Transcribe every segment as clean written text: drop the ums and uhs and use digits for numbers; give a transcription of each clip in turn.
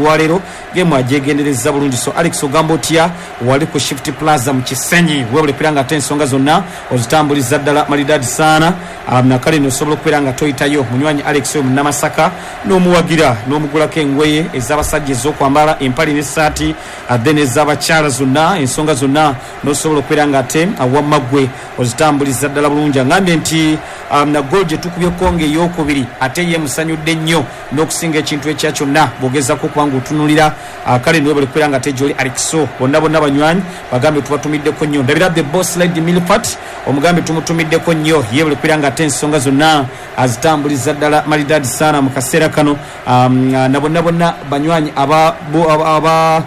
Olwaleero geemu agyegenderezza bulungi. So Alex, ogamba otya wali ku Shift Plaza mu Kisenyi? Webale kubeera nga ate ensonga zonna ozitambuliza ddala malidadi saana. Nakale no osobola okubeera nga toyitayo munywanyi Alex oyo Munnamasaka n'omuwagira n'omugulako engoye ez'abasajja ez'okwambala, empale n'essaati, then ez'abakyala zonna, ensonga zonna n'osobola okubeera nga ate wamma ggwe ozitambuliza ddala bulungi. Angambye nti goal gye tukubye Congo ey'okubiri ate ye emusanyudde nnyo n'okusinga ekintu ekya kyonna bw'ogezaako okuba ng'otunuulira. Kale niwebale kubeera nga ate gy'oli Alexo. Bonna bonna banywanyi bagambe tubatumiddeko nnyo. Ndabira the boss lady Milfat, omugambe tumutumiddeko nnyo, yebale kubeera nga ate ensonga zonna azitambuliza ddala malidadi saana mu kaseera kano. Na bonna bonna banywanyi aba, aba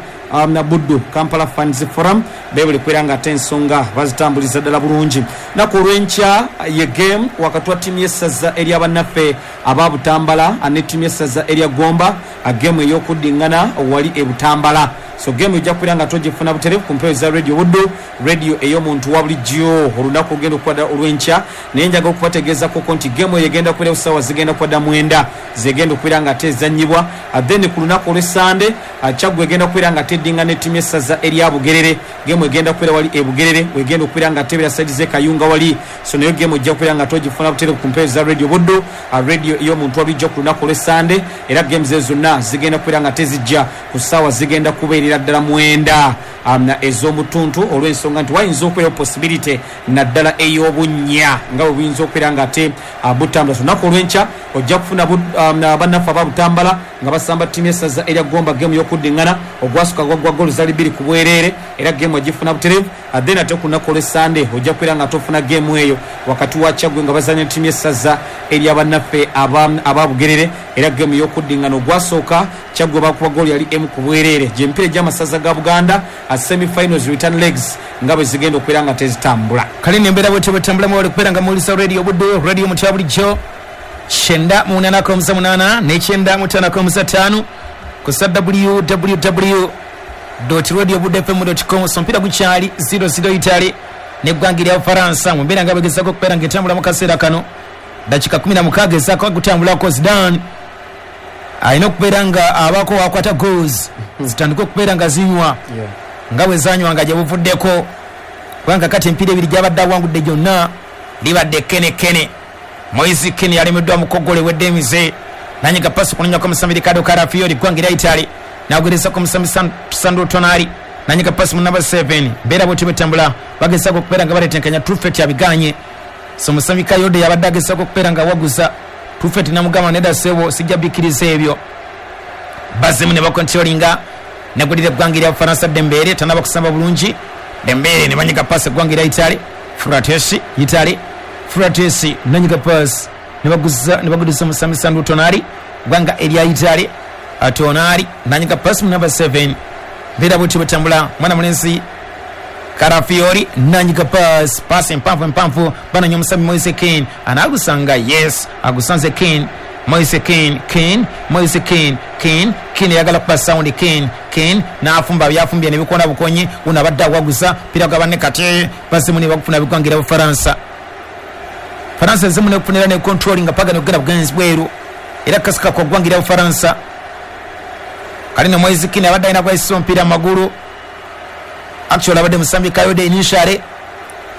na Buddu Kampala Fans Forum bebale kubeera nga ate ensonga bazitambuliza ddala bulungi. Naku olw'enkya ye game wakati wa ttiimu y'essaza erya bannaffe aba Butambala ne ttiimu y'essaza erya Gomba, geemu ey'okuddingana wali e Butambala. So geemu ojja kubeera nga togifuna butereevu ku mpewo za Radio Buddu, radio ey'omuntu wa bulijjo, olunaku olugenda okuba ddala olw'enkya. Naye njagala okubategeezakoko nti geemu eyo egenda kubeerawo ssaawa zigenda kuba dda 9 zegenda okubeera nga ate ezannyibwa. Then ku lunaku olw'Essande, Kyaggwe egenda kubeera nga ate eddingana ettiimu y'essaza erya Bugerere. Geemu egenda kubeera wali e Bugerere, wegenda okubeera nga ate ebeera saidi z'e Kayunga wali. So nayo geemu ojja kubeera nga ate ogifuna butereevu ku mpewo za Radio Buddu, radio ey'omuntu wa bulijjo, ku lunaku olw'Essande. Era games ezo zonna zigenda kubeera nga ate zijja ku ssaawa zigenda kubeerera ddala 9 ez'omutuntu, olw'ensonga nti wayinza okubeerawo possibility naddala ey'obunnya nga bwe buyinza okubeera nga ate butambula. So olunaku olw'enkya ojja kufuna bannaffe aba Butambala nga basamba ttiimu y'essaza erya Gomba, geemu y'okuddingana. Ogwasooka gwaggwa goolo zali bbiri ku bwereere, era geemu ogifuna butereevu. Then ate ku lunaku olw'Essande ojja kubeera nga ate ofuna geemu eyo wakati wa Kyaggwe nga bazannya ne ttiimu y'essaza erya bannaffe aba Bugerere, era geemu y'okuddingana. Ogwasooka Kyaggwe baakuba goolo yali emu ku bwereere. Gy'emipiira egy'amasaza ga Buganda, semi finals return legs, nga bwe zigenda okubeera nga tezitambula. Kale eno embeera bwetyo bwetambula. Mwewale kubeera nga muwuliriza Radio Buddu, radio mutya bulijjo, 98.8 ne 95.5 ku sa www radio buddu fm com. So omupiira gukyali 0-0, Italy neggwanga erya Bufaransa, mu mbeera nga bagezako okubeera nga etambula mu kaseera kano. Dakika 16 ezaako gutambulako. Zidane alina okubeera nga abaako wakwata goals zitandike okubeera nga zinywa nga bwe zanywanga gye buvuddeko, kubanga kati emipiira ebiri gyabadde awangudde gyonna libadde kenekene. Moise Kean yalemeddwa mu kogolo ewedde emize, nanyiga pasi kunonyako omusambi Ricardo Calafiori, ggwanga erya Italy, nagugerezako omusambi Sandro Tonali, nanyiga pasi mu namba 7. Mbeera bwetyo bwetambula, bagezako okubeera nga baletenkanya. Truffert abiganye. So musambi Kayode yabadde agezako okubeera nga awaguza Truffert, namugamba nedda sebo, sijja bikkiriza ebyo. Bazemu ne bakontrolinga, negulira eggwanga erya Bufaransa. Dembele tanaba kusamba bulungi. Dembele ne banyiga pasi, eggwanga erya Italy. Frattesi, Italy, Frattesi nanyiga pasi ne bagudiza omusambi Sandro Tonali, ggwanga erya Italy. Tonali nanyiga pasi mu namba 7. Mbeera bwetyo bwetambula. Mwana mulenzi Calafiori nanyiga pasi, pasi empanvu empanvu, bananya omusambi Moise Kean, anagusanga. Yes, agusanze Kean, Moise Kean, Kean, Moise Kean, Kean, Kean ayagala kuba sound. Kean, Kean n'afumba byafumbye nebikona bukonyi. Uno abadde awaguza pira gwa banne, kati bazimu ne bagufuna bigwangira Bufaransa. Faransa ezimu nekufunira ne controlling paga nekugenda bugenzi bweru, era kasika kwa ggwanga Bufaransa. Kale ne Moise Kean abadde alina gwayisa omupiira mu magulu, actually abadde musambi Kayode initially,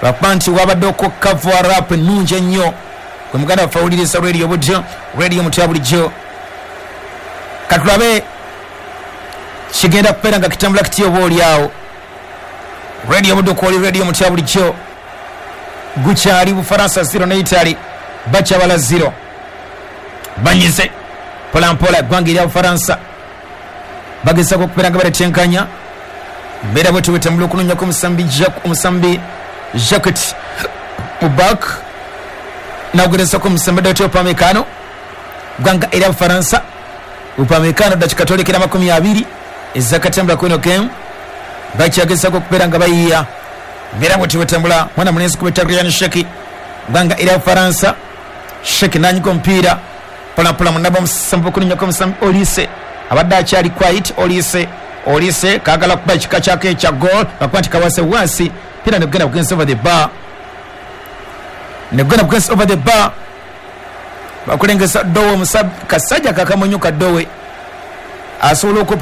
lwakuba nti wabadde okukava rap ennungi ennyo. Gwe muganda waffe awuliriza Radio Buddu, radio mutya bulijjo, katulabe kigenda kubeera nga kitambula kitya oba oli awo. Radio Buddu kwoli, radio mutya bulijjo. Gukyali Bufaransa 0 ne Italy bakyabala 0. Banyize mpolampola eggwanga erya Bufaransa, bagezako okubeera nga baletenkanya. Mbeera bwetyo bwetambula, okunonyako omusambi Jacquet mubak, nagugerezako omusambi Dayot Upamecano, ggwanga erya Bufaransa. Upamecano, dakika twolekera 20 ezakatambula kweno game, bakyagezako okubeera nga bayiya. Mbeera bwetyo bwetambula. Mwana mulenzi kubeta Rayan Cherki, ggwanga erya Bufaransa. Cherki nanyiga omupiira mpolampola munaba omusambi, okunonyako omusambi Olise, abadde akyali quiet. Olise, Olise kagala kuba ekika kyako ekya goal, bakuba nti kawase wansi, pira negenda bugenzi over the bar, negenda bugenzi over the bar. Bakulengeza Dowe, kasajja kakamunyu kadowe. Asobola okupa.